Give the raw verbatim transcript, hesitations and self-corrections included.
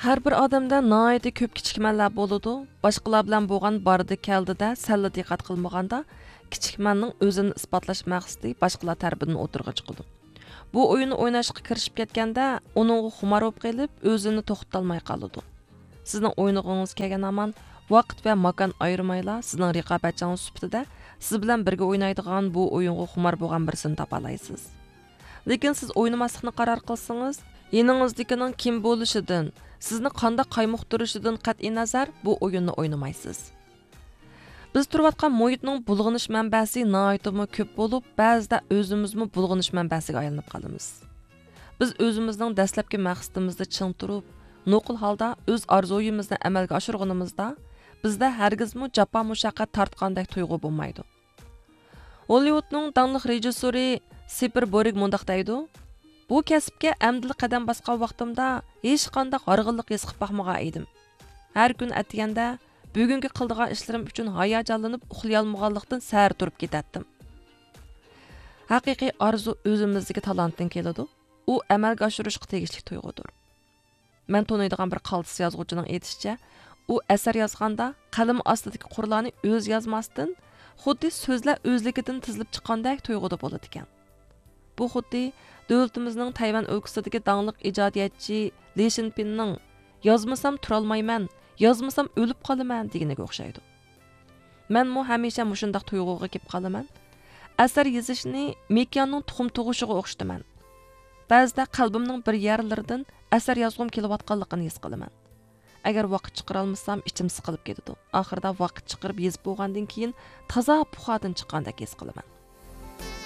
ھەر بىر ئادەمدە ناھايىتى كۆپ كىچىكمەنلەر بولىدۇ. باشقىلار بىلەن بولغان باردا كەلدىدە سەللا دىققەت قىلمىغاندا، كىچىكمەننىڭ ئۆزىنى ئىسپاتلاش مەقسىتى باشقىلار تەرىپىدىن ئوتتۇرىغا چىقىدۇ. بۇ ئويۇننى ئويناشقا كىرىشىپ كەتكەندە، ئۇنىڭغا خۇمار بولۇپ قېلىپ، ئۆزىنى توختىتالماي قالىدۇ. سىزنىڭ ئوينىغۇڭىز كەلگەن ھامان، ۋاقىت ۋە ماكان ئايرىمايلا، سىزنىڭ رىقابەتچىڭىز سۈپىتىدە سىز بىلەن بىرگە ئوينايدىغان، بۇ ئويۇنغا خۇمار بولغان بىرسىنى تاپالايسىز. لېكىن سىز ئوينىماسلىقنى قارار قىلسىڭىز، يېنىڭىزدىكىنىڭ كىم بولۇشىدىن، سىزنى قانداق قايمۇقتۇرۇشىدىن قەتئىينەزەر، بۇ ئويۇننى ئوينىمايسىز. بىز تۇرۇۋاتقان مۇھىتنىڭ بۇلغىنىش مەنبەسى ناھايىتىمۇ كۆپ بولۇپ، بەزىدە ئۆزىمىزمۇ بۇلغىنىش مەنبەسىگە ئايلىنىپ قالىمىز. بىز ئۆزىمىزنىڭ دەسلەپكى مەقسىتىمىزدە چىڭ تۇرۇپ، نوقۇل ھالدا ئۆز ئارزۇيىمىزنى ئەمەلگە ئاشۇرغىنىمىزدا، بىزدە ھەرگىزمۇ جاپا مۇشەققەت تارتقاندەك تۇيغۇ بولمايدۇ. ھوللىۋۇدنىڭ داڭلىق رېژىسسورى سىپىر بورگ مۇنداق دەيدۇ: «بۇ كەسىپكە ئەمدىلا قەدەم باسقان ۋاقتىمدا ھېچقانداق ھارغىنلىق ھېس قىلىپ باقمىغان ئىدىم. ھەر كۈنى ئەتىگەندە بۈگۈنكى قىلىدىغان ئىشلىرىم ئۈچۈن ھاياجانلىنىپ ئۇخلىيالمىغانلىقتىن سەھەر تۇرۇپ كېتەتتىم.» ھەقىقىي ئارزۇ ئۆزىمىزدىكى تالانتتىن كېلىدۇ. ئۇ ئەمەلگە ئاشۇرۇشقا تېگىشلىك تۇيغۇدۇر. مەن تونۇيدىغان بىر قالتىس يازغۇچىنىڭ ئېيتىشىچە، ئۇ ئەسەر يازغاندا قەلىمى ئاستىدىكى قۇرلارنى ئۆزى يازماستىن، خۇددى سۆزلەر ئۆزلۈكىدىن تىزىلىپ چىققاندەك تۇيغۇدا بولىدىكەن. بۇ خۇددى دۆلىتىمىزنىڭ تەيۋەن ئۆلكىسىدىكى داڭلىق ئىجادىيەتچى لى شىنپىننىڭ «يازمىسام تۇرالمايمەن، يازمىسام ئۆلۈپ قالىمەن» دېگىنىگە ئوخشايدۇ. مەنمۇ ھەمىشە مۇشۇنداق تۇيغۇغا كېلىپ قالىمەن. ئەسەر يېزىشنى مىكياننىڭ تۇخۇم تۇغۇشىغا ئوخشىتىمەن. بەزىدە قەلبىمنىڭ بىر يەرلىرىدىن ئەسەر يازغۇم كېلىۋاتقانلىقىنى ھېس قىلىمەن. ئەگەر ۋاقىت چىقىرالمىسام، ئىچىم سىقىلىپ كېتىدۇ. ئاخىرىدا ۋاقىت چىقىرىپ يېزىپ بولغاندىن كېيىن، تازا پۇخادىن چىققاندەك ھېس قىلىمەن.